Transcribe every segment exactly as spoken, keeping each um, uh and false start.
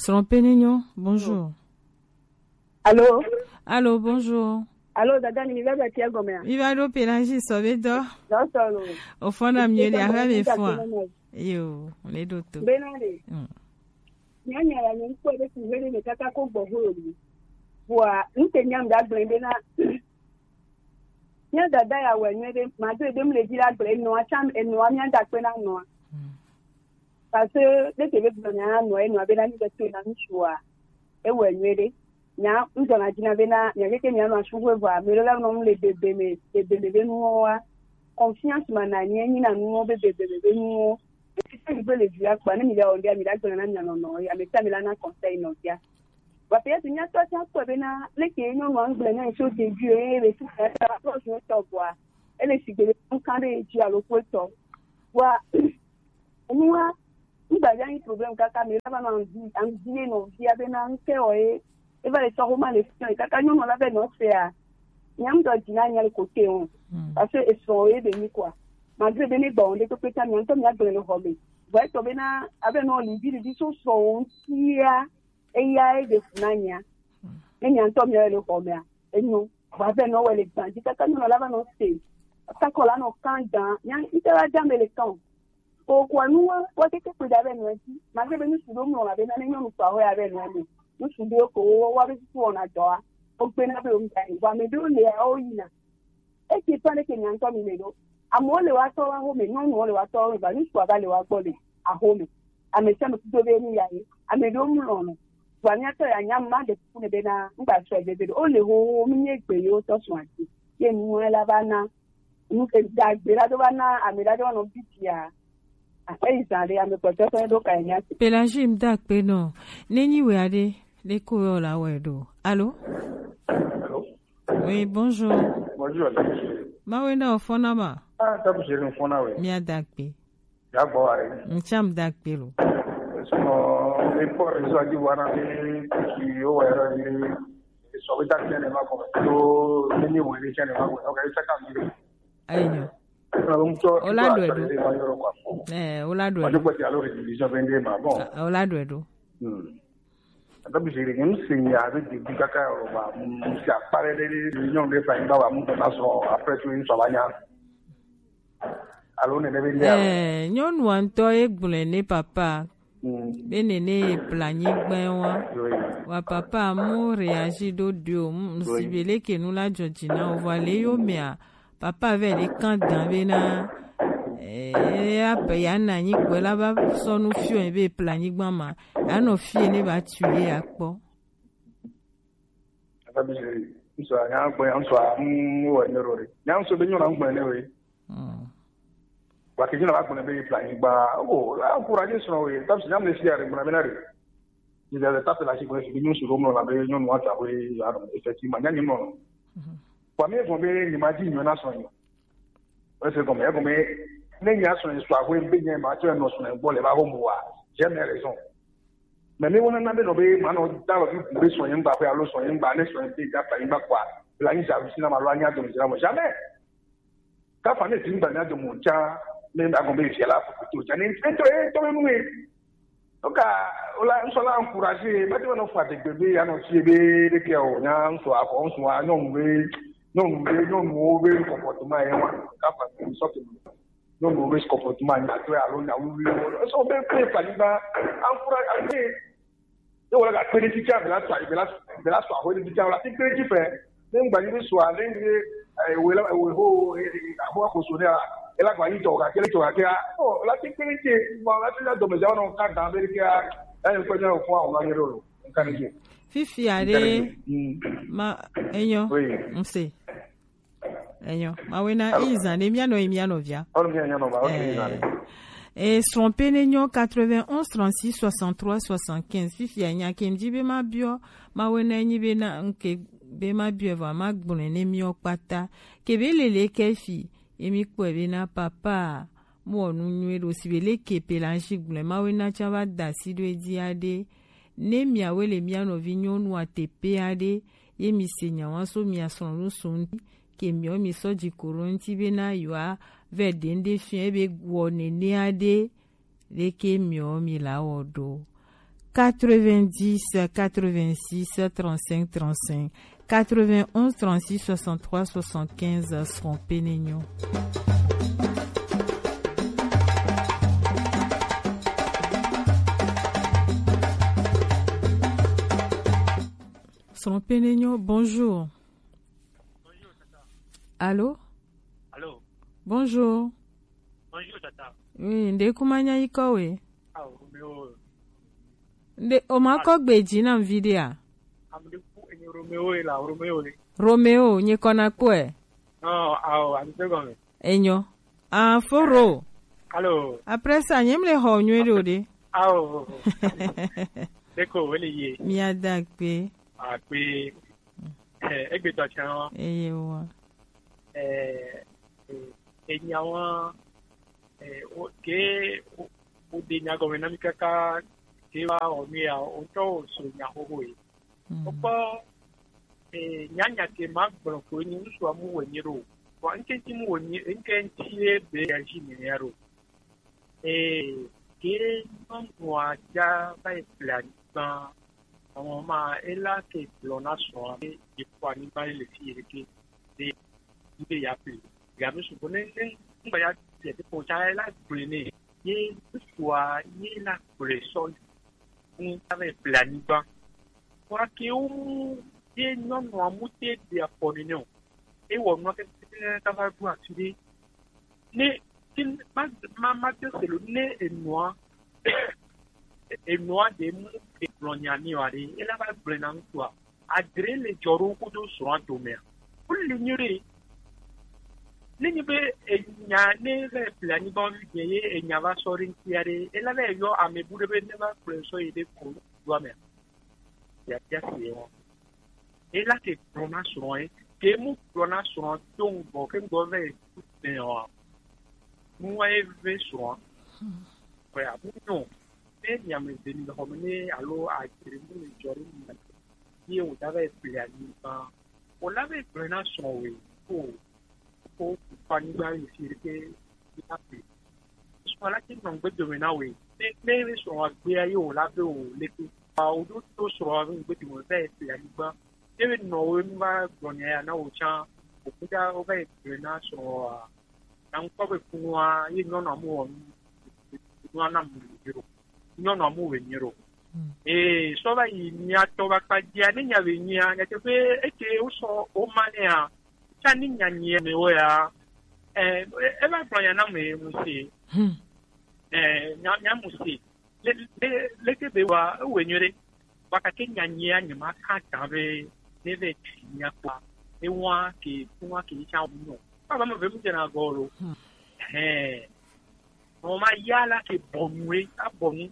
Trompe nenyo, bonjour. Allô? Allô, bonjour. Allô, dada ni mi va ba tia gome a? Mi va do Pélangie so be do. Do so lo. O fo na mi le ara be fo a. Yo, le do to. Be na de. Mm. Nya nya ya ni ko be ti hele ni kaka ko gbo ho ni. Wa, n te nya mi da gbe be na. Nya dada ya we ni de, ma de be mi le di la gbe no a cham e no a mi da pe na no a. Mm. Parce que dès que je viens à Noël, nous avons l'ami de Tona Michua. Et ouais, nous aider. Nya, nous avons dit, na bena, nya ke nya na shuwe va, mais là non le bébé, mais le bébé nous a confiance mana ni ni na nous bébé bébé nous. Et c'est ça il veut le dire quoi, ni mi la on dia mi la gbe na nya no no, ya me ta mi la na conseil no dia. Wa pe ya ti nya to ti ko bena, le ke no no angle na so de Dieu, et le tout ça, ça va pas je to voir. Et le sigbe on kan de Dieu à l'eau quoi to. Wa Enua, ngba ya ni problème kaka, mais là va na anvi, anvi no via be na nke o e. E va le so ma le fion kaka nyo no la be no se a. Nyam do dina nya le côté on. Mm. Parce que ils sont aidés ni quoi. Malgré be ni bon de to peta mi anto mi a gbe no hobe. Vai to be na abe no li bi di so so on kia. E ya e de funanya. Mm. E mi anto mi a le hobe a. E no. Va be no we le gban. Di kaka nyo no la va no se. Kaka la no kan dan. Nya ite la dan be le kan. Okua nuwa, wa keke kpe da be nu eti. Ma ke be nu su do mlɔ la be na ne nyɔnu fa ho ya be nu ame. Nu su do ko wo wa be su ona dɔ a. O gbe na be o mi ta ni. Wa me do le a o yi na. E ke pa ne ke nya ntɔ mi le do. Amo le wa tɔ wa ho me, nyɔnu le wa tɔ wa ho me, ba nu su a ba le wa gbɔ le a ho me. Ame sia me ku do be nu ya ye. Ame do mlɔ no. Wa mi atɔ ya nya ma de ku ne be na ngba su e be be do. O le ho ho mi nye gbe yo tɔ su ati. Ye nu la ba na. Nu ke dagbe la do va na ame la do va nɔ bitia. Aƒe yi zã ɖe ame kpɔtɔ fɛn ɖo ka nya se. Pélangie, mi da akpe nɔ. Ne nyi wɛ aɖe, ɖe ko yɔ la wɛ ɖo. Allô? Allô? Oui, bonjour. Bonjour. Mawe na ofɔna ma. Ah, tabu chéri, ofɔna we. Mi a da akpe. Ya gbɔ wa re. Ntsam da akpe lo. Sɔmɔ, mi kpɔ réseau a dzi wa na mi ki o wa yɛrɛ ni. Sɔ bi da tiɲɛ ne ma kɔ. To ne ni wɛ ni tiɲɛ ne ma kɔ. Ok, sa ka mi. Ayi nyo. Ola do edo. Eh, ola do edo. Ola do edo. Hmm. Ata bi sere ni se ya be de bi kaka o ba mu si apare de de nyɔnu de fa ba ba mu ta so après tu so ba nya. Alo ne de be nya. Eh, nyɔnu ŋutɔ ye gblɔe ne papa. Be nene ye pla nyigba wa. Wa papa mu réagi ɖo dio, mu si be leke nu la dzɔ dzi na o, vɔ le yo mea, papa vɛ ɖe kan dan be na, eh, abe ya na anyi gbɛ la va sɔ nu fiɔ be pla nyigba ma, anɔ fie ne ba tu ye akpɔ. Ata bi se, ŋsɔ, nya gbɛ, ŋsɔ, mu wɔ ne ro re. Nya ŋsɔ be nyɔ na gbɛ ne we. Wa ke dzi na va gblɔe be ye ƒle anyigba. O, la encourage srɔ̃wò ye. Tape si nyam le fia ɖe gblɔna be na ɖe. Dzi le tape le asi gblɔe si be nyɔnu si ɖo mlɔ la be nyɔnu wa ta be ya nɔ. Effectivement, nya nyi mlɔ. Wa mi gɔme be nyi ma dzi nyɔ na srɔ̃ nyɔ. Ese gɔme, egɔme ne nya srɔ̃ sɔ ahoe be nye ma tsɔ nɔ srɔ̃ gbɔ le va ho mo wa. J'ai mes raisons. Mais mi wona na be nɔ be ma nɔ da lɔ bi be srɔ̃ nyigba ƒe alo srɔ̃ nyigba ne srɔ̃ be da ƒle anyigba kwa. Bla nyi sa si na ma lo anya dɔm zira mo. Jamais. Kafa ne ti ŋgba nya do mo tsa, ne agɔn be fia la fuku to tsa, ne ŋutɔ ye tɔ be nu ye. Oka, ola, ŋsɔ la encouragé, ma te be nɔ fa degbe be ya nɔ fie be ɖeke o, nya ŋsɔ afɔ, ŋsɔ a, nyɔnu be, nyɔnu be, nyɔnuwo be comportement ye wa, kafa sɔ ke nyɔnuwo be comportement nya to alo nya wuwu wo. Ŋsɔ be pe fa ni ba, encouragé, Ye wòle gakpe ɖe fifia, be la sɔ, be la, be la sɔ ahoe ɖe fifia, wòle ati kpe ɖe fi fɛ. Ne ŋgba nyi be sɔa, ne nyi be, eh, wòle, wòle ho, eh, eh, ahoa ko so nɛ la, ela gba nyi tɔ gake, le tɔ gake a. Oh, la ti kpe ɖe fi, ma la ti na dɔme ja nɔ ka da be ke a. Eh, ko nya ko a wòle nyi ɖo. Nka ne ke. Fifia ɖe, ma, enyo, ŋse. Enyo. Mawe na izan ne mia nɔ, mia nɔ via. Ɔnu mia nɔ ba, ok, izan ne. E srɔ̃ pe ne nyo quatre-vingt-onze trente-six soixante-trois soixante-quinze. Fifia nya ke mdi be ma biɔ, mawe na nyi be na nke be ma biɔ va ma gbɔn ne mia kpata. Ke be lele ke fi, emi kpɔ be na papa, mo nu nyuie ɖo si be le ke pe la nshi gblẽ, mawe na tsa va da si ɖo edi aɖe. Ne miawe le mia nɔvi nyɔnu a teƒe aɖe, ye mi se nya wa so mia srɔ̃ nu so ŋuti, ke miɔ mi sɔ dzi ko ɖo ŋuti be na yewoa vɛ ɖe ŋɖe fia ebe wɔ nene aɖe, leke miɔ mi la wɔ ɖo. quatre-vingt-dix, quatre-vingt-six, trente-cinq, trente-cinq, quatre-vingt-onze, trente-six, soixante-trois, soixante-quinze, Srɔ̃ Penenyo. Srɔ̃ Penenyo, bonjour. Allô? Allô? Bonjour. Bonjour, tata. Oui, nde kuma nya yi kɔ we? Ah, Romeo. Nde o ma kɔ gbe ji na vi de a? Am de ku enyi Romeo e la, Romeo le. Romeo, nye kɔ na kpɔe. Non, ah, am de gɔme. Enyo. Ah, foro. Allô. Après ça, nye mle xɔ nyuie ɖo de. Ah, oh, oh, oh. Deko, wele ye. Mi ada kpe. Ah, kpe. Eh, egbetɔ tsã wa. Eye wa. Eh, eh, enyawa, eh, o, ke, o, o de nya gɔme na mi kaka, ke wa o mi ya, o ŋutɔ o so nya xoxo ye. Mm. Kpɔkpɔ, eh, nyanya ke ma gblɔ ko ni ŋutsu amu wɔ nyi ɖo. Vɔ ŋke ŋti mu wɔ nyi, ŋke ŋti ye be ya ji nene ya ɖo. Ee, ke nyɔnua dza va yi ƒle anyigba. Mama ma ela ke gblɔ na srɔ̃a be yekpɔ anyigba ye le fi ɖeke be yi be ya ƒle. Gabe sugbɔ ne ne ŋgba ya ƒle ɖe kpɔ tsa ela gblɔe nɛ. Ye ŋutsua ye la gblɔe sɔ yi ŋu va yi ƒle anyigba. Kura ke wo mu ye nyɔnua mu te ɖe afɔ nene o. Ewɔ nua kekekeke kaka va ɖo afi ɖe. Ne ke ma ma ma de se lo ne enua enua ɖe mu egblɔ nya mi wa ɖe ela va gblɔe na ŋutsua adre le dzɔ ɖo kudo srɔ̃a domea wole nyuie ɖe ne nyi be enya ne va ƒle anyigba vi ɖe ye enya va sɔ ɖe ŋutia ɖe ela va yɔ ame bu ɖe be ne va gblɔe sɔ yi ɖe ko doa mea. Biabia si ye wɔm. Ela ke gblɔ na srɔ̃ ye. Ke mu gblɔ na srɔ̃ do ŋgɔ ke ŋgɔ vɛ tu tɛ wa. Nua ye ve srɔ̃. Kɔe abu nyo. Ne nyame de ni xɔ me ne alo adzre mu le dzɔ ɖe mu. Ye wo da vɛ ƒle anyigba. Wòle be gblɔe na srɔ̃wòe ko ko anyigba yi fi ɖeke yi na ƒle. Srɔ̃ la ke nɔ ŋgbe dome na wòe. Ne ne srɔ̃wò agbea ye wòla be wò leke. Wòɖo to srɔ̃wò ŋgbe dome va yi ƒle anyigba. Ye be nɔ wo nu va gblɔ nya ya na wò tsã. Wòku da wova yi gblɔe na srɔ̃wòa. Na ŋkpɔ be kunua ye nyɔnua mu wɔ nu nua na mu le dzro. Nyɔnua mu wɔ nyuie ɖo. Ee, sɔ va yi mia tɔ va kpa dzia ne nya be nyuia nyateƒe eke wosɔ woma nɛa tsa ni nya nyuia me wo ya. Ɛ eva gblɔ nya na me mu se. Ɛ nya nya mu se. Le le leke be wa ewe nyuie ɖe. Wa kake nya nyuia nye ma ka ta be ne ve tsi nya kpa. Ewa ke kuma ke tsa wu no. Baba me ve mu jena gɔlo. Hɛn. Mɔ ma ya la ke bɔnu e, abɔnu,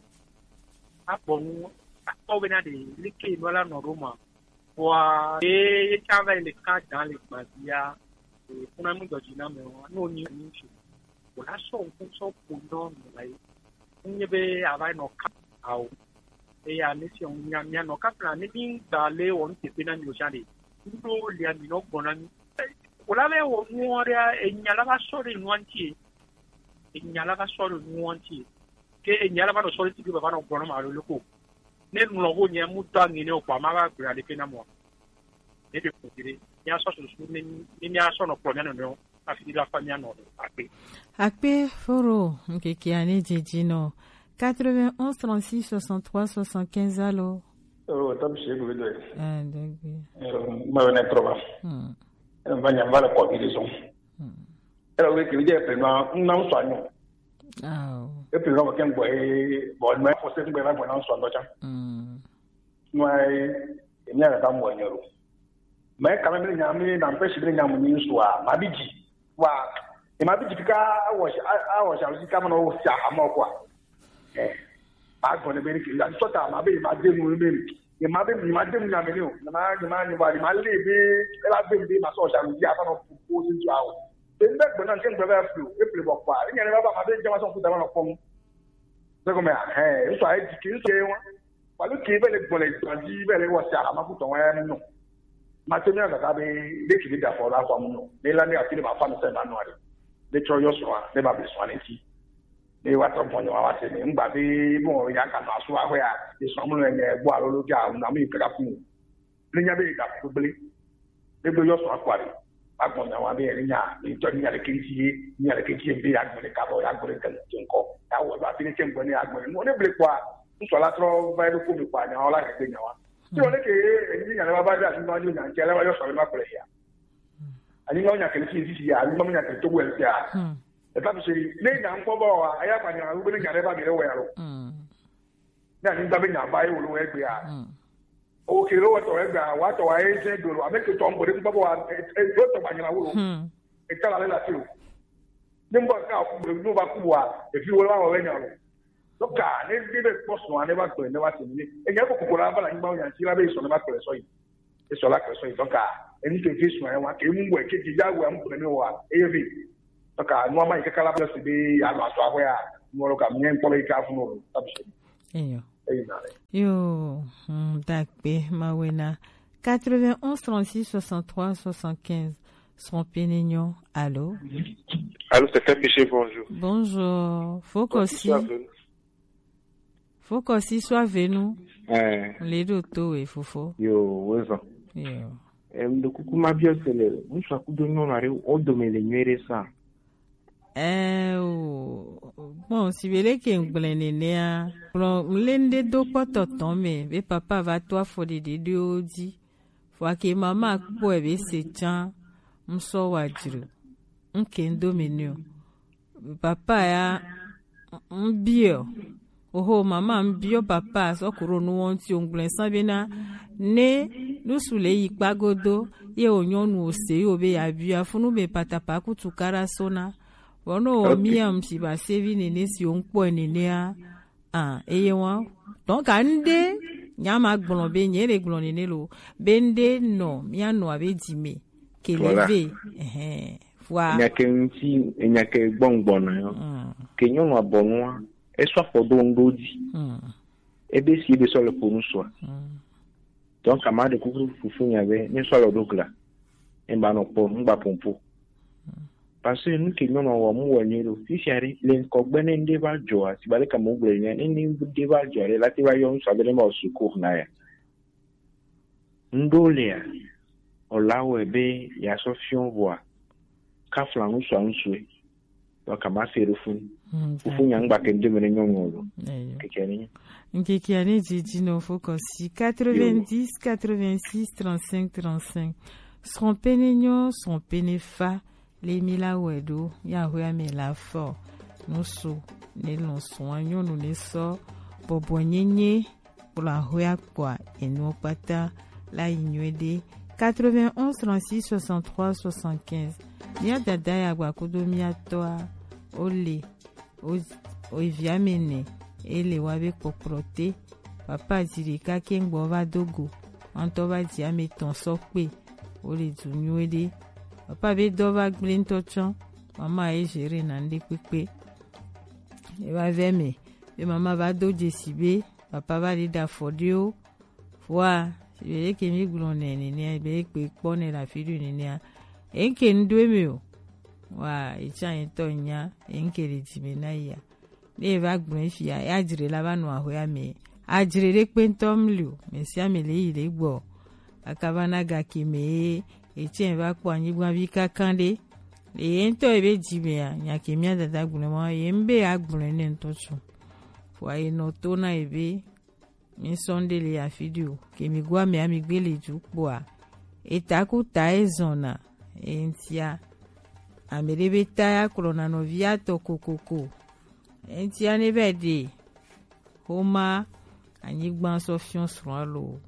abɔnu, akpɔ bena ɖe leke nɔ la nɔ ɖo ma. Vɔa ye ye tsa va yi le ka dan le gbazia. Kuna mi dɔdzi na me wa no ni ni tsi. Wòla sɔ ŋku sɔ ƒo nyɔ nɔ la yi. Nye be ava nɔ ka awo. Eya ne si ŋu nya mia nɔ ka fla ne mi gba le wɔ nu teƒe na mi o sia ɖe. Ŋɖo lia mi nɔ gbɔ na mi. Wòla be wɔ nuɔ ɖe enya la va sɔ ɖe nua ŋuti. Enya la va sɔ ɖe nuwo ŋuti. Ke enya la va nɔ sɔ ɖe ti ke baba nɔ gblɔ nɔ ma alo loko. Ne ŋlɔ ho nye mu dɔ aŋe ne o kpɔ ama va gblɔ aɖeke na mɔ. Ne ɖe ko ɖe mia sɔ susu ne ne mia sɔ nɔ kplɔ mia nɔnɔewo hafi ɖe la fa mia nɔ akpe. Akpe foro ŋkekea ne dzedzi nɔ quatre-vingt-onze trente-six soixante-trois soixante-quinze alo. Oh, tam shi ebe do. Ah, dogbe. Eh, ma wena trova. Hmm. Eh, va nya va le kɔ bi de zon. Hmm. Era wo ke je pe no na so anyo. Oh. E pe no ke ngbo e bo no fo se ngbo e ba ngbo na so ando cha. Mm. No ai e mi ara ta mo anyo ro. Me ka me nya mi na mpe shi mi nya mo ni so a ma bi ji. Wa e ma bi ji ka a wo sha a wo sha ka mo no sha a mo kwa. Eh. Ma gbɔ ne be ne ke ya sɔ ta ma be ma de nu be ne ma be ma de nu ya me ne o ne ma ne ma ne ba ne ma le be e la be be ma sɔ sha ya fa no po po sin tu awo be be gbɔ na ke gbɔ ba flu e ple bɔ kwa ne ne ba ba ma be jama sɔ ku da ma no pon be ko me a he so ai di ki so e wa wa lu ki be le gbɔ le gba di be le wa sha ma ku to wa no ma te mi ga ga be de ki da fo la kwa mu no ne la ne a ti le ma fa no se ma no are de tro yo so a de ba be so a ne ti Ne wa trɔ gbɔnyɔ wa se ne ŋgba be bon ya ka nɔ asu wa hwɛ ya, e sɔ mu le ne gbɔ alo lo ja na mi kaka fu. Ne nya be ga gbegble. Ne gbe yɔ sɔ akwa de. Agbɔnyɔ wa be ne nya, ne tɔ nya le kenji ye, nya le kenji ye be ya gbele ka bɔ, ya gbele kan ŋkɔ. Ya wɔ ba bi ne ke ŋgɔ ne ya gbele. No ne ble kwa, ŋsɔ la trɔ va do ko mi kwa nya wala ke gbe nya wa. Ti o ne ke e ni nya le ba ba da ni ma ni nya ke le ba yɔ sɔ le ma kple ya. Ani ma nya ke ni ti ti ya, ani ma nya ke to wɛ ya. E ta bi se, ne nya ŋkɔ bɔ wa, aya kwa nya, u be ne nya le ba mi le wɛ ya lo. Ne anyigba be nya va ye wòle wɔ egbea. O ke ɖo wetɔ egbea, watɔ wa ye zɛ do lo, ame ke tɔ ŋgbe ɖe ŋgbe bɔ wa, e, e, wetɔ gba nyina wo lo. Eta la le la ti o. Ne ŋgbe ka ku, ne va ku wa, efi wo la wɔ be nya lo. Donc, ne ɖe be kpɔ sɔ ne va gbe ne va se ne. E nya ko ko la va la nyigba nya ti la be sɔ ne va gbe sɔ yi. Esɔ la kpe sɔ yi. Donc, enu ke vi sɔ wa ke mu wɛ ke dzi ya wɛ mu gblẽ mi wa eye vi. Donc, nua ma yi kaka la ble si be ya nɔ asɔ ahwe ya. Nua lo ka mi ŋkpɔ be yi ka fu no lo. Tabi se. Eyo. Eyi na le. Yo, hmm, dakpe, mawena. Quatre-vingt-onze trente-six soixante-trois soixante-quinze. Son pénignon. Allô? Allô, c'est F M P C, bonjour. Bonjour. Faut qu'on s'y Fokɔsi so ave nu. Eh. Le ɖo to we fofo. Yo, wezɔ. Yo. Em, ɖo kuku ma biɔ se le ŋutsu akudo nyɔnu aɖe wo dome le nyuie ɖe sa. Eh, o, bon, si be le ke ŋgblẽ nenea, kplɔ mle ŋɖe do kpɔtɔ tɔn me, be papa va to afɔ ɖeɖe ɖewo dzi. Vɔa ke mama kpɔe be se tsã, ŋsɔ wa dzro. Ŋke ŋdo me nɛ o. Papa ya, ŋ-, ŋbiɔ. Oho, mama ŋbiɔ papa, sɔ ku ɖo nu wɔn ti o ŋgblẽ sa be na, ne nusu le yi kpa godo, ye o nyɔnu o se yo be ya bia funu be patapa kutu kara sona. Vɔ no wɔ mia ŋsi ba sevi nene si o ŋkpɔe nenea. Ah, eye wa. Donc, ande, nya ma gblɔ be, nye le gblɔ nene lo. Be nde nɔ, mia nɔ abe dzi me. Ke le ve. Ehɛn. Vɔa. Nya ke ŋuti, nya ke gbɔngbɔn na yo. Ke nyɔnu abɔnua, esɔ afɔ do ŋdo dzi. Ebe si ebe sɔ le ƒo nu sua. Donc, ama ɖe kuku fufu nya be, ne sɔ alɔ ɖo gla. Emba nɔ kpɔ, ŋgba pompo. Parce que nu ke nyɔnua wɔ mu wɔ nyuie ɖo. Fifia ɖe, le ŋkɔgbe ne ŋɖe va dzɔa, si ba ɖe ka mo gblɔ nyuie, ne ŋɖe va dzɔa ɖe, la te va yɔ ŋsua be ne ma wɔ secours na ya. Ŋɖo lea, o la wɔe be ya sɔ fiɔ vɔa, ka fla ŋsua ŋsue. Donc, ama se ɖo funu. Fufu nya ŋgba ke ŋɖe me ne nyɔnu lo. Keke ni. Nkeke ane dzidzi no fo kɔsi quatre-vingt-dix, quatre-vingt-six, trente-cinq, trente-cinq. Srɔ̃ pene nyɔ, srɔ̃ pene fa. Le mi la wɛ ɖo, ya hwe ame la fɔ. Nusu, ne lɔn srɔ̃ nyɔnu ne sɔ. Bɔbɔ nyenye, kplɔ ahwe akpɔa, enuɔ kpata, la yi nyuie ɖe. Quatre-vingt-onze trente-six soixante-trois soixante-quinze. Mia dada ya gba kudo mia tɔa, o le. O, o via me nɛ, e le wa be kpɔkplɔ te. Papa dzi ɖeka ke ŋgbɔ va do go. Ŋutɔ va dzi ame tɔn sɔ kpe. O le du nyuie ɖe. Papa be dɔ va gble ŋutɔ tsɔ. Mama e gere na ŋɖe kpekpe. E va vɛ me. Be mama va do dzesi be. Papa va ɖi ɖa fɔ ɖewo. Vɔa, be ɖe ke mi gblɔ nɛ nenea, be ɖe kpe kpɔ nɛ le afi ɖe nenea. Eŋke ŋɖo eme o. Wa, etsã yetɔ nya, eŋke le dzi me na ya. Ne eva gblɔ fia, ya dzre la va nɔ ahwe ame. Adzre ɖe kpe ŋutɔ mli o, me sia me le yi le gbɔ. Akava na ga ke me ye, etsɛ va kpɔ anyigba vi kaka ɖe. Le ye ŋutɔ ebe dzi mea, nya ke mia dada gblɔ ma, ye ŋbe ya gblɔ ne ŋutɔ tsu. Vɔa ye nɔ to na ebe, mi sɔ ŋɖe le afi ɖe o. Ke mi go amea mi gbe le du kpɔa. Eta ku ta ezɔna. Eŋtia. Ame ɖe be ta ya kplɔna nɔvia tɔ kokoko. Eŋtia ne be ɖe. Xoma anyigba sɔ fiɔ srɔ̃a lo.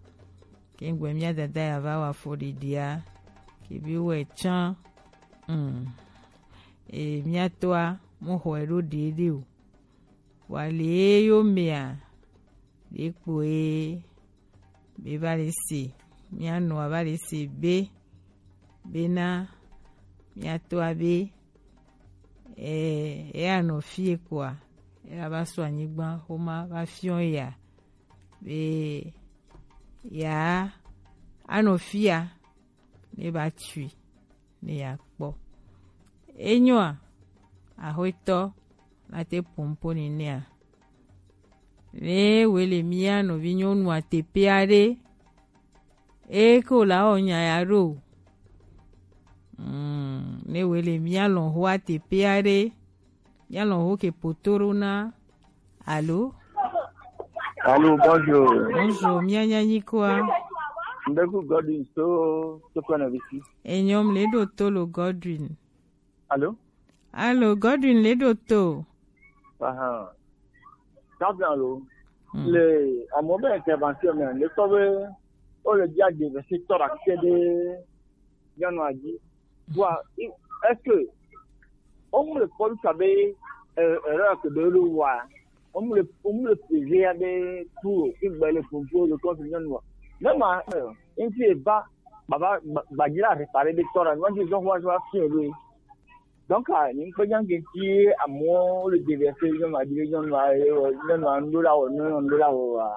Ke ŋgbe mia dada ya va wa fɔ ɖeɖea. Ke bi wɛ tsã. Mm. E mia tɔa mo xɔ eɖo ɖeɖe o. Wa le yo mea, ɖe kpoe be va le se, mia nɔa va le se be, bena mia tɔa be, eh, eya nɔ fie kpoa, eya va sɔ anyigba xoma va fiɔ ya, be ya anɔ fia, ne ba tui, ne ya kpɔ. Enyoa, axwetɔ, la te pompo nenea. Ne wele mia nɔvi nyɔnua teƒe aɖe, eye ke wòle awɔ nya ya ɖo. Mm, ne wele mia lɔ̃xoa teƒe aɖe, mia lɔ̃xo ke poto ɖo na. Alo? Allô, bonjour. Bonjour, mia nya nyi koa? Ndeku Godwin so so kwana visi. Enyɔm le ɖo to lo Godwin. Allô? Allô, Godwin le ɖo to. Aha. Kabla lo. Hmm. Le amewo be intervention me, le tɔ be wole dzi aɖe ve si tɔ ɖe ake ɖe nyɔnua dzi. Wa, est-ce que womle kpɔ ɖo abe erreur ke ɖe wole wɔa? Womle womle peze aɖe tu o, igbe le pompo le kɔnfi nyɔnua. Ne ma ŋuti eva baba gbadzi la réparer ɖe tɔ ɖe nyɔnua dzi zɔn wa zɔn afi ɖe. Donc, ah, ni kpe nya ke ti amewo le déverser nyɔnua dzi ɖe nyɔnua nyɔnua ŋɖo la wɔ nyɔnua ŋɖo la wɔ wa.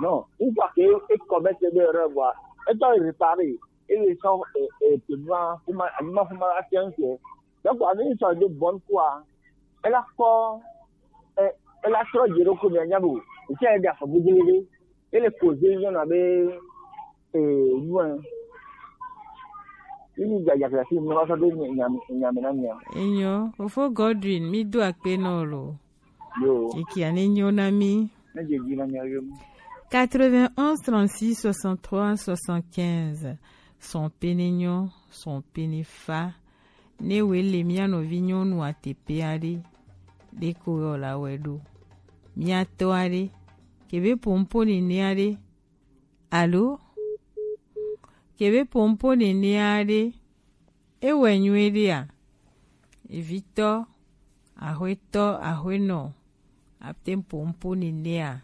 Non, une fois que e commettre des erreurs, voilà. Et toi, il répare. Il est sans, euh, euh, pour moi, pour moi, pour moi, pour moi, c'est un fait. Donc, avec une sorte de bonne foi, elle a quoi, euh, elle a trop de recours, mais il y a beaucoup. Et si elle a fait beaucoup de, elle est causée, il y en avait, euh, loin. Il y a, il y a, il y a, il y a, il y a, il y a, il y a, il y a, il y a, il y a, il y a. Enyo, Fofo Godwin, mi do akpe no lo. Yo. Eki ane nyo na mi. Ne je di na mi ayo. Quatre-vingt-onze trente-six soixante-trois soixante-quinze. Son pene nyo, son pene fa. Ne wele mia nɔvi nyɔnua teƒe aɖe, ɖeko yɔ la wɛ ɖo. Mia tɔ aɖe, kebe pompo nene aɖe. Alo? Kebe pompo nene aɖe. Ewɛ nyuiɖea? Evitɔ, axwetɔ, axwenɔ, ate ŋu pompo nenea,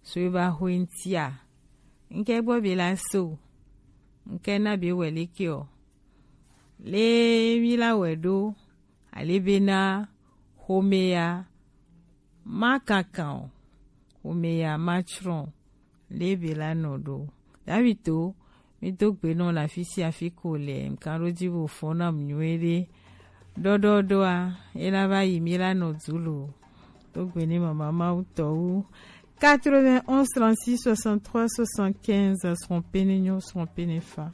so ebe axwe ŋutia. Ŋke gbɔ be la so. Ŋke na be wɛ leke o. Le mi la wɛ ɖo, ale bena xomea ma kankan o, xomea ma tsrɔ̃ o, le be la nɔ ɖo. David to, mi do gbe nɔ le afi sia afi ko le, ŋkan ɖo dzi bo fɔ na mu nyuie ɖe. Ɖɔɖɔɖɔa, e la va yi mi la nɔ du lo. Do gbe ne mama Mawu tɔ wu. Quatre-vingt-onze trente-six soixante-trois soixante-quinze, srɔ̃ pene nyo, srɔ̃ pene fa.